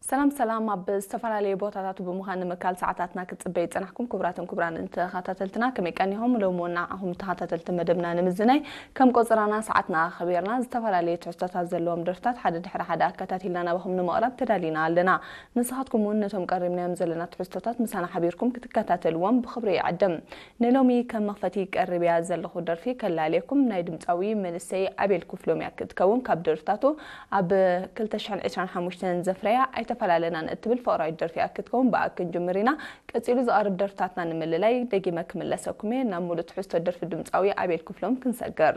ሰላም ሰላም። ኣብ ዝተፈላለዩ ቦታታት ብምዃን ንምካል ሰዓታትና ክትጽበዩ ዝጸናሕኩም ክቡራትን ክቡራን ተኸታተልትና፣ ከመይ ቀኒኹም? ሎሚ እውን ንዓኹም ተኸታተልቲ መደብና ንምዝናይ ከም ቆጸራና ሰዓትና ኣኸቢርና ዝተፈላለዩ ትሕዝቶታት ዘለዎም ደርፍታት ሓደ ድሕሪ ሓደ ኣከታቲልና ናባኹም ንምቕራብ ተዳሊና ኣለና። ንስኻትኩም እውን ነቶም ቀሪብናዮም ዘለና ትሕዝቶታት ምሳና ሓቢርኩም ክትከታተልዎም ብኽብሪ ይዕድም። ንሎሚ ከም መኽፈቲ ቀሪበያ ዘለኹ ደርፊ ከላልየኩም ናይ ድምጻዊ መንእሰይ ኣቤል ክፍሎም እያ ክትከውን። ካብ ደርፍታቱ ኣብ ክልተ ሽሕን ዕስራን ሓሙሽተን ዘፍረያ ኣይተፈላለናን እትብል ፍቕራዊት ደርፊ እያ ክትከውን። ብኣ ክንጅምር ኢና። ቀጺሉ ዝቐርብ ደርፍታትና ንምልላይ ደጊመ ክምለሰኩም እየ። ናብ ሙሉእ ትሕዝቶ ደርፊ ድምጻዊ ኣቤል ክፍሎም ክንሰግር።